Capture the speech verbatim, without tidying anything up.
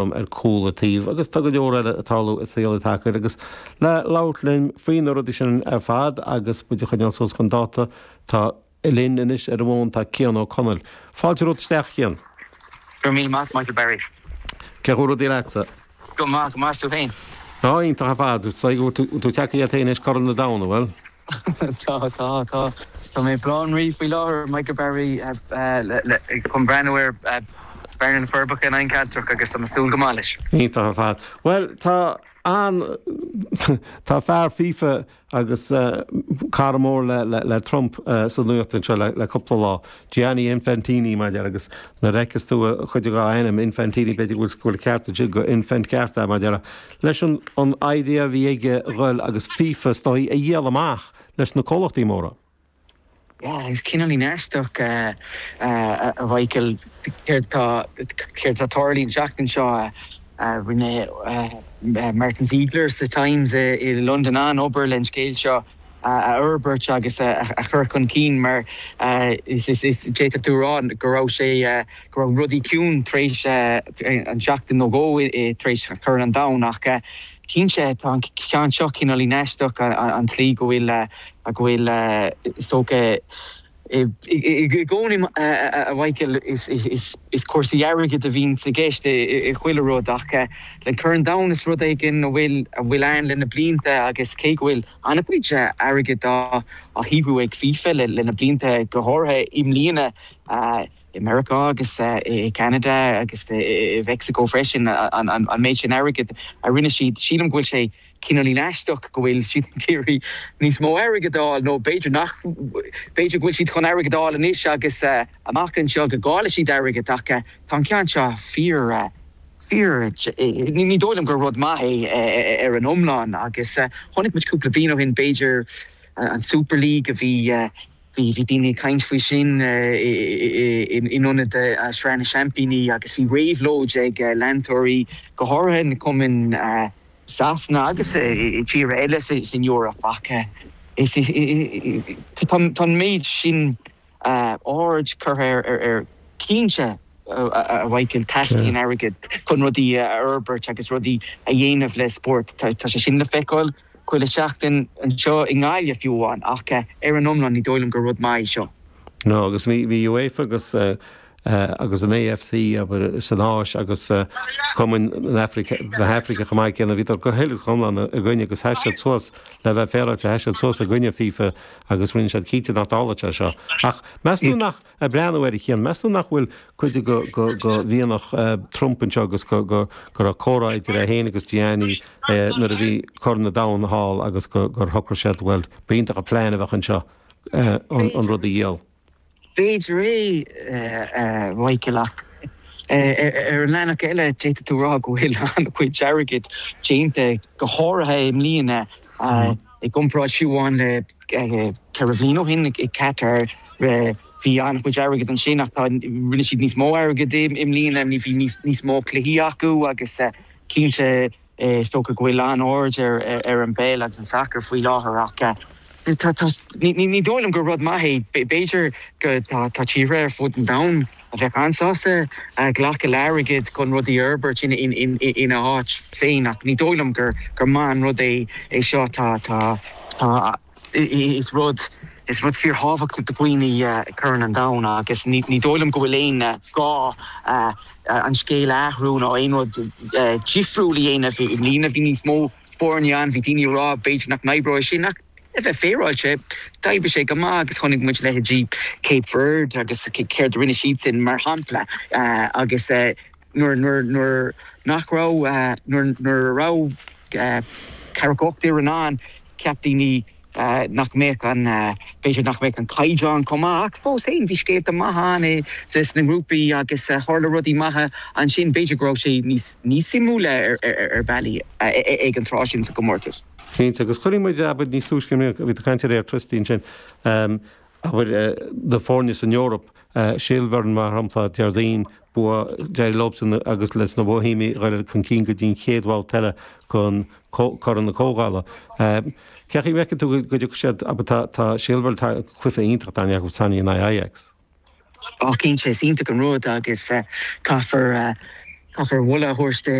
Ar cúl an taobh agus tá go leor eile ag tarlú i saol an tsacair agus le labhairt linn faoi na rudaí sin ar fad agus muid a choinneáil suas chun dáta tá linn anois ar an bhfón tá Cian Ó Conaill. Fáilte romhat isteach Cian. Go raibh míle maith Michael Barry. Cén chaoi a bhfuil rudaí leatsa? Go maith, go maith tú féin? Tá iontach ar fad, so tú tagtha iad féin anois Corn an Domhain, an bhfuil? Tá, tá, tá. Tá mé i mBaile Átha an Rí faoi láthair, Michael Barry, chun breathnú ar Bearna na Forbacha in aghaidh an Chealtrach agus tá mé ag súil go maith leis. Iontach ar fad. Bhuel, tá an, tá fear FIFA agus cara mór le le Trump sa nuacht anseo le le cúpla lá, Gianni Infantini mar a deir agus nuair a fheiceas tú chuid dá ainm, Infantini, b'fhéidir go bhfuil go bhfuil ceart ansin go infant ceart é mar a deir, leis an an idea a bhí aige dhul agus FIFA is dóigh a dhíol amach leis na comhlachtaí móra. Yeah, is cineáilín aisteach a Mhichael céard tá céard atá tarlaithe an tseachtain seo. Rinne Martin Ziegler sa Times i Londain an-obair le an scéal seo a fhorbairt agus a chur chun cinn mar is d'fhéadfadh tú a rá go raibh sé go raibh rudaí ciúin tar éis an seachtain nó dhó tar éis Chorn an Domhain ach cinnte tá an ceann seo cineáilín aisteach an tslí go bhfuil go bhfuil is dócha i gcónaí a Mhichael is cúrsaí airgid a bhíonn i gceist i chuile rud ach le Corn an Domhain is rud éigin a bhfuil a bhfuil ann le na blianta agus cé go bhfuil an-chuid airgid á shaothrú ag FIFA le na blianta go háirithe i mbliana i Meiriceá agus i Ceanada agus i Meicsiceo freisin an méid sin airgid a rinne siad sílim go bhfuil sé cineáilín aisteach go bhfuil siad ag iarraidh níos mó airgid a fháil nó b'fhéidir nach b'fhéidir go bhfuil siad chun airgead a fháil anois agus amach anseo go gcaillfidh siad airgead ach tá an ceann seo fíor fíor ní dóigh liom gur rud maith é ar an iomlán agus chonaic muid cúpla bliain ó shin b'fhéidir an Super League a bhí bhí bhí daoine ag caint faoi sin in ionad Sraith na Seaimpíní agus bhí réabhlóid ag leantóirí go háirithe na cumainn Sasana agus i tíortha eile san Eoraip ach is tá an méid sin aird curtha ar ar cinnte a Mhichael teastaíonn airgead chun rudaí a fhorbairt agus rudaí a dhéanamh le spórt. Tá sé sin le feiceáil chuile sheachtain anseo i nGaillimh fiú amháin ach ar an iomlán ní dóigh liom gur rud maith é seo. No agus bhí bhí UEFA agus agus an AFC abair san Áis agus Cumann na hAfraice na hAfraice chomh maith céanna bhíodar go huile is go hiomlán i gcoinne agus sheas siad suas le bheith féaráilte sheas siad suas i gcoinne FIFA agus rinne siad cinnte nach dtarlódh sé seo. Ach meas tú nach ag breathnú air a Chian, meas tú nach bhfuil cuid go go go mhianach Trump anseo agus go go go raibh comhrá idir é féin agus Gianni nuair a bhí Corn an Domhain thall agus go gur shocraigh siad bhuel b'iontach an plean a bheadh anseo an an rud a dhíol. B'fhéidir é a Mhichael ach ar an leathanach eile d'fhéadfadh tú rá go bhfuil an-chuid airgid déanta go háirithe i mbliana i gcomparáid fiú amháin le ceithre bhliain ó shin i Qatar bhí an-chuid airgid ansin ach tá rinne siad níos mó airgid i mbliana ní bhí níos mó cluichí acu agus cinnte is dócha go bhfuil an-aird ar ar an bpeil agus an sacar faoi láthair ach ní dóigh liom gur rud maith é. B'fhéidir go tá tíortha ar fud an domhain a bheadh an-sásta glacadh le airgead chun rudaí a fhorbairt ina áit féin ach ní dóigh liom gur gur maith an rud é é seo. Tá tá tá is rud is rud fíorthábhachtach do dhaoine Corn an Domhain agus ní ní dóigh liom go bhfuil aon gá an scéal a athrú nó aon rud difriúil a dhéanamh. I mbliana bhí níos mó foirne ann, bhí daoine ag rá b'fhéidir nach n-oibreoidh sin ach le bheith féaráilte, d'oibrigh sé go maith agus chonaic muid leithéidí Cape Verde agus céard a rinne siadsan mar shampla agus nuair nuair nuair nach raibh nuair nuair a raibh ceathracha ocht fhoireann ann cheap daoine nach mbeadh an b'fhéidir nach mbeadh an caighdeán chomh maith ach fós féin bhí scéalta maithe ann i sna grúpaí agus tharla rudaí maithe ansin b'fhéidir go raibh sé níos níos suimiúla ar ar bealaí ag an tráth sin sa gcomórtas. Cinnte, agus chuirfidh muid, abair, níos túisce i mbliana, bhí tú ag caint ar Airtricity ansin, abair, na foirne san Eoraip, Silvern mar shampla, Déardaoin, bua, d'éirigh leobsan agus leis na Boihéimigh dhul chun cinn go dtí an chéad bhabhta eile chun Corn na Comhdhála. Cén chaoi a bhfeiceann tú go dtiocfaidh siad, abair, tá, tá Silvern, tá cluiche iontach dar ndóigh acu in aghaidh Ajax. Á cinnte, is iontach an rud agus caithfear Caithfear moladh a thabhairt